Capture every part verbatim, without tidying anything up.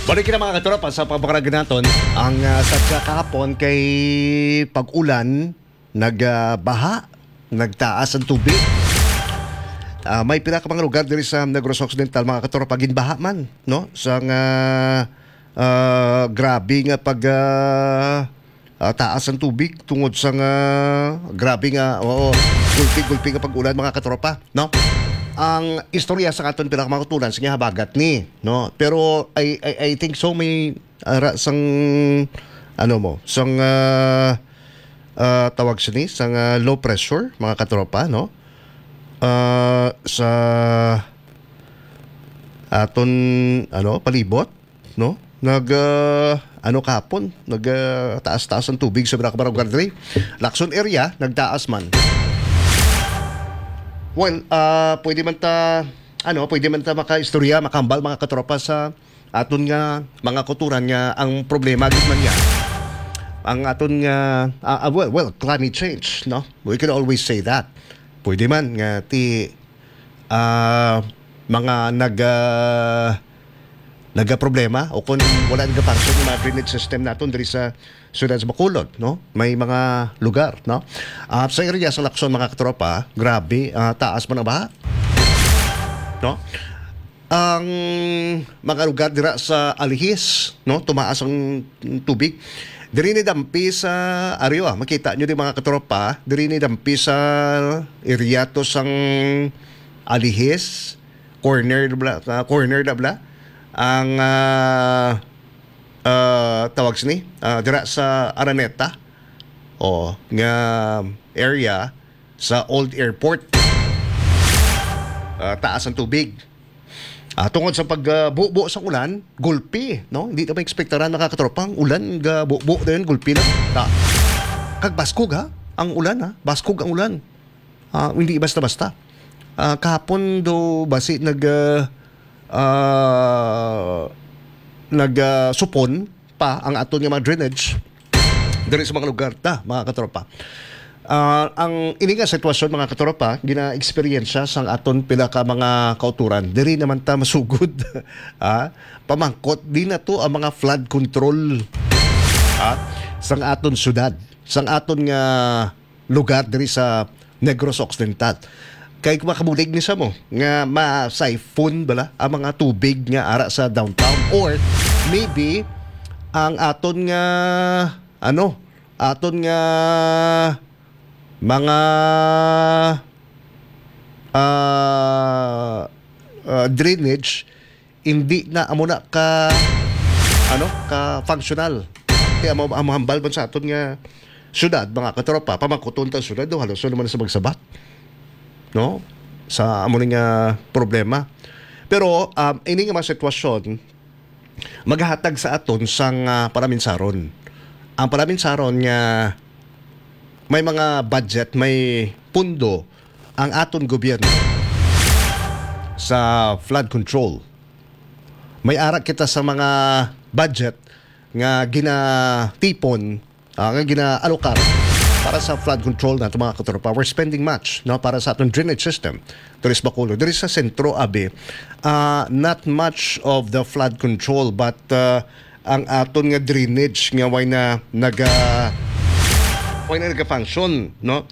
Balik na, mga katropa, sa pagbakarag naton. Ang, ah, sadya kahapon kay pag-ulan, nag, ah, baha, nagtaas ang tubig. Ah, may pila ka mga lugar diri sa Negros Occidental, mga katropa, ginbaha man, no? Sang, ah, ah, grabe nga pag, ah, ah, taas ang tubig tungod sa nga grabe nga, oo, gulpi-gulpi nga pag-ulan, mga katropa, no? Ang istorya sa aton pila ka mga kauturan, sige, habagat ni, no? Pero I, I, I think so, may ara sang, ano mo, sang, ah, ah, tawag sini, sang, ah, low pressure, mga katropa, no? Ah, sa aton, ano, palibot, no? Nag, ah, ano, kahapon, nag, ah, taas-taas ang tubig sa Barangay Barangay Lacson area, nagtaas man. Well, ah, pwede man ta, ano, pwede man ta makaistorya, makahambal, mga katropa, sa aton nga mga kauturan nga ang problema gid man niya ang aton nga, ah, ah, well, well, climate change, no? We can always say that. Pwede man nga ti ah, mga nag, ah, nagaproblema o kung wala nagafunction yung mga drainage system naton diri sa siyudad sa Bacolod, no? May mga lugar, no? Ah, sa area sa Lacson, mga katropa, grabe, ah, taas man ang baha, no? Ang mga lugar dira sa Alihis, no, tumaas ang tubig. Diri ni dampi sa, ari, ah, makita nyo di, mga katropa, diri ni dampi sa area to sang Alihis, corner na bala, ah, corner na bala. Ang, ah, ah, tawag sini, ah, dira sa Araneta, o, nga area sa Old Airport. Ah, taas ang tubig. Ah, tungod sa pagbubo sa ulan, gulpi, no? Hindi naman ekspektaran, mga katropa, ang ulan, gabubo dayon, gulpi lang. Ta-, kag baskog, ha? Ang ulan, ha? Baskog ang ulan. Ah, hindi basta-basta. Ah, kahapon do basi nag, ah, ah, nag, ah, supon pa ang aton nga mga drainage diri sa mga lugar ta, mga katropa. Ah, ang ini nga sitwasyon, mga katropa, gina-eksperyensya sang aton pila ka mga kauturan. Diri naman ta masugod, ah, pamangkot, di na to ang mga flood control, ah, sang aton syudad, sang aton nga lugar diri sa Negros Occidental. Kay makabulig ni sa mo nga ma-siphon bala ang mga tubig nga ara sa downtown, or maybe ang aton nga, ano, aton nga mga, ah, ah, drainage hindi na amo na ka, ano, ka functional. Kaya amo, amo hambal man sa aton nga syudad, mga katropa, pamangkuton ta syudad, do, halos naman sa magsabat, no? Sa amo ni nga problema. Pero, um, ini nga mga sitwasyon, maghatag sa aton sang, ah, palaminsaron. Ang palaminsaron nga may mga budget, may pundo ang aton gobyerno sa flood control. May ara kita sa mga budget nga ginatipon, ah, nga ginaalocar para sa flood control nato, mga katropa. We're spending much, no, para sa aton drainage system. Diri sa Bacolod, diri sa sentro, abi, ah, not much of the flood control, but, ah, ang aton nga drainage nga way na naga-, way na naga-function, no?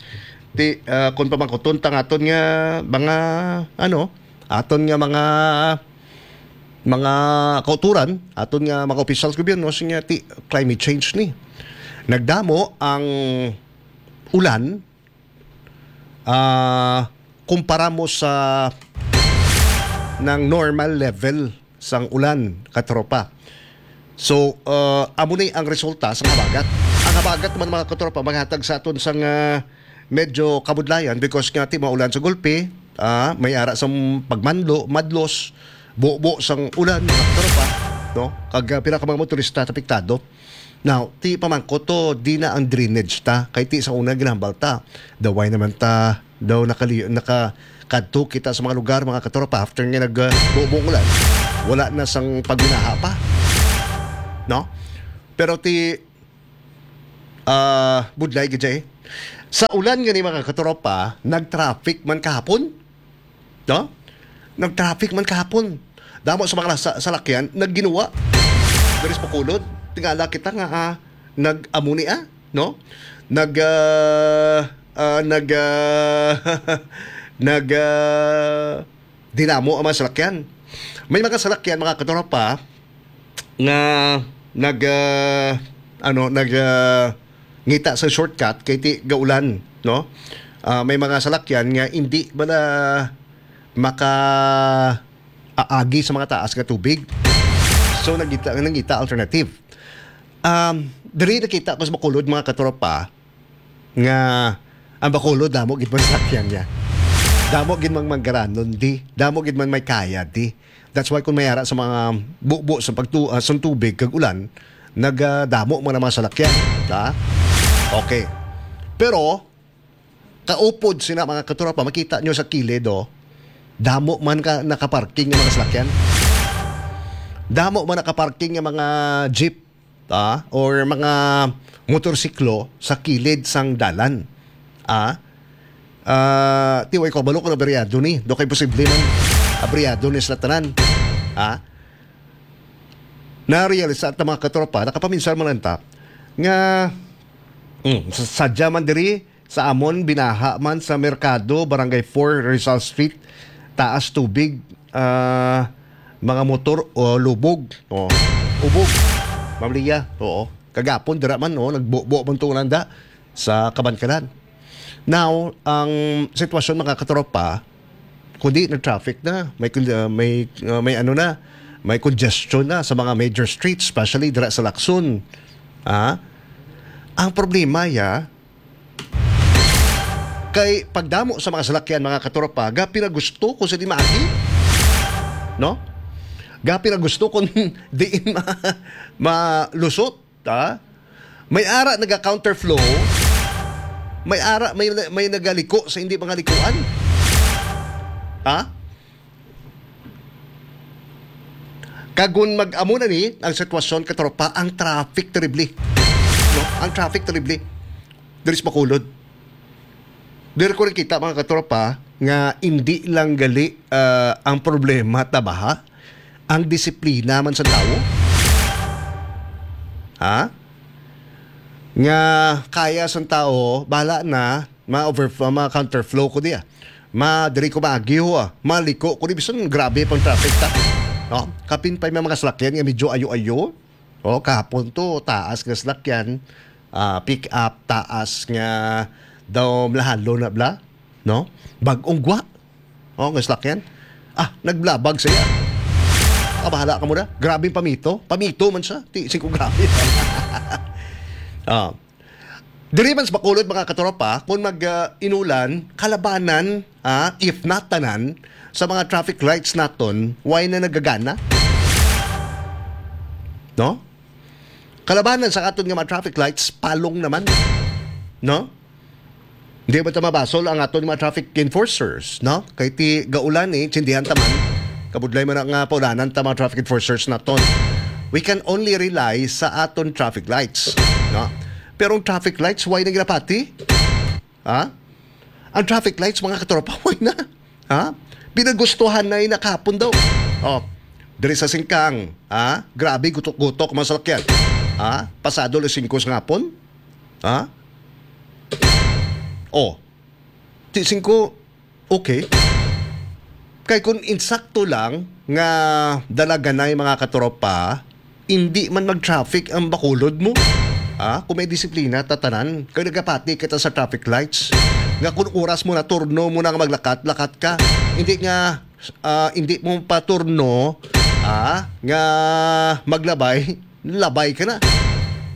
Ti, ah, kung pamangkuton ta nga aton nga mga, ano, aton nga mga, mga kauturan, aton nga mga opisyal sa gobyerno, siya nga ti climate change ni. Nagdamo ang ulan, ah, kumpara mo sa nang normal level sang ulan, katropa. So, ah, amo ni ang resulta sang habagat. Ang habagat man, mga katropa, maghatag sa aton sang, ah, medyo kabudlayan because nga ti maulan sa gulpi, ah, may ara sang pagmanlo, madlos, bubo sang ulan, mga katropa, no? Kag, ah, pila ka mga motorista apektado. Now, ti pamangkot to, di na ang drainage ta. Kay ti sa una ginahambal ta, daway naman ta daw nakali-, nakakadto kita sa mga lugar, mga katropa, after nga nag, uh, bubo ang ulan, wala na sang pagbinaha pa. No? Pero ti, ah, budlay gid, eh. Sa ulan gani, mga katropa, nag-traffic man kahapon. No? Nag-traffic man kahapon. Damo sa mga sa-, salakyan nagginuwa. diri sa Bacolod. Tingala kita nga, ah, nag-amo ni, ah, no? Nag, ah, ah, nag, ah, nag, ah, dinamo ang mga salakyan. May mga salakyan, mga katropa, nga nag, ah, ano, nag, ah, ngita sa shortcut kay ti gaulan, no? Ah, may mga salakyan nga hindi ba na maka aagi sa mga taas nga tubig. So, nagita, nangita alternative. Um, diri nakita ko sa Bacolod, mga katropa, nga ang Bacolod, damo gid man salakyan niya. Damo gid mang manggaranon di. Damo gid man may kaya di. That's why kung may ara sa mga bubo sa pagtu ah, sa tubig kag ulan, nagadamo man ang mga salakyan. Ha? Okay. Pero, kaupod sina, mga katropa, makita nyo sa kilid, oh. Damo man ka nakaparking nga mga salakyan. Damo man nakaparking nga mga jeep, ah, or mga motorsiklo sa kilid sang dalan. Ah, ah, ti way ko balo kung abriyado ni. Do kay posible man abriyado ni sila tanan. Ah, na-realize sa mga katropa, nakapaminsan man lang ta, nga, mm, sa-, sadya man diri, sa amon, binaha man sa Merkado, Barangay four, Rizal Street, taas tubig, ah, mga motor, o lubog, o ubog, Ma'am Lia, oo. Kagapon, dira man, no, nagbubo man to nanda sa Kabankalan. Now, ang sitwasyon, mga katropa, kundi nag-traffic na, may con-, ah, may, ah, may ano na, may congestion na sa mga major streets, especially dira sa Lacson. Ah, ang problema ya, kay pagdamo sa mga salakyan, mga katropa, gapi na gusto ko sa di maagi. No? Gapi na gusto kung diin ma-, malusot, ha? May ara naga-counterflow, may ara, may, may nagaliko sa hindi mga likuan. Ha? Kag kung mag-amo na ni ang sitwasyon, katropa, ang traffic terrible. No? Ang traffic terrible. Diri sa Bacolod. Diri ko nakita, mga katropa, nga hindi lang gali, ah, ang problema ta baha, ang disiplina man sa tawo. Ha? Nga kaya sang tawo, bala na, ma-over-, ma-counterflow ko diya. Ma, diri ko maagi ho, ah. Maliko ko di, bisan grabe pang traffic ta. No? Kapin pa yung mga salakyan nga medyo ayo-ayo. Oh, kahapon to, taas nga salakyan, ah, pick up, taas nga daw malahalo na bla, no? Bag-ong gwa. Oh, nga salakyan. Ah, naglabag siya. Ah, bahala ka muna. Grabe yung pamito. Pamito man siya. Ti, sing ko grabe. Ah. Diri man sa Bacolod, mga katropa, kung mag, ah, inulan, kalabanan, ah, if not tanan, sa mga traffic lights naton, why na nagagana? No? Kalabanan sa aton nga mga traffic lights, palong naman. No? Hindi ba ta mabasol ang aton mga traffic enforcers, no? Kay ti gaulan, eh, tsindihan ta man. Kabudlay man nga paulanan ta mga traffic enforcers naton. We can only rely sa aton traffic lights, no? Pero ang traffic lights, why na ginapati? Ha? Ang traffic lights, mga katropa, why na? Ha? Pinagustuhan na yung nakapon daw. Oh, diri sa Singkang, ha? Grabe, gutok-gutok, mga salakyan. Ha? Pasado alas singko sa ngapon? Ha? Oh, ti singko, okay. Kay kung insakto lang nga dalaganay, mga katropa, hindi man mag-traffic ang Bacolod mo. Ah, kung may disiplina, tatanan. Kay nagapati kita sa traffic lights. Nga kung oras mo na, turno mo na nga maglakat, lakat ka. Hindi nga, ah, hindi mo pa turno, ah, nga maglabay, labay ka na.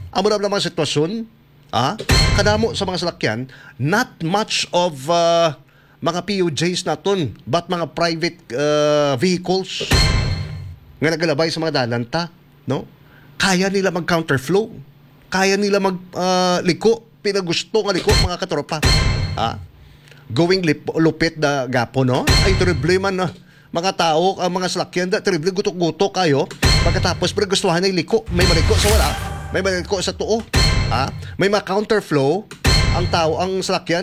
Amo na lang mga sitwasyon, ah, kadamo sa mga salakyan, not much of, ah, mga P U Js naton, but mga private, uh, vehicles nga nagalabay sa mga dalan ta, no? Kaya nila mag-counterflow. Kaya nila mag, uh, liko. Pinagusto nga liko, mga katropa. Ha? Going lip-, lupit na gapo, no? Ay, terrible man, ah. Mga tao, ang mga salakyan, da, terrible, gutok-gutok kayo. Pagkatapos, pero gustuhan na liko. May maliko sa wala. May maliko sa tuo. Ha? May mga counterflow. Ang tao, ang salakyan,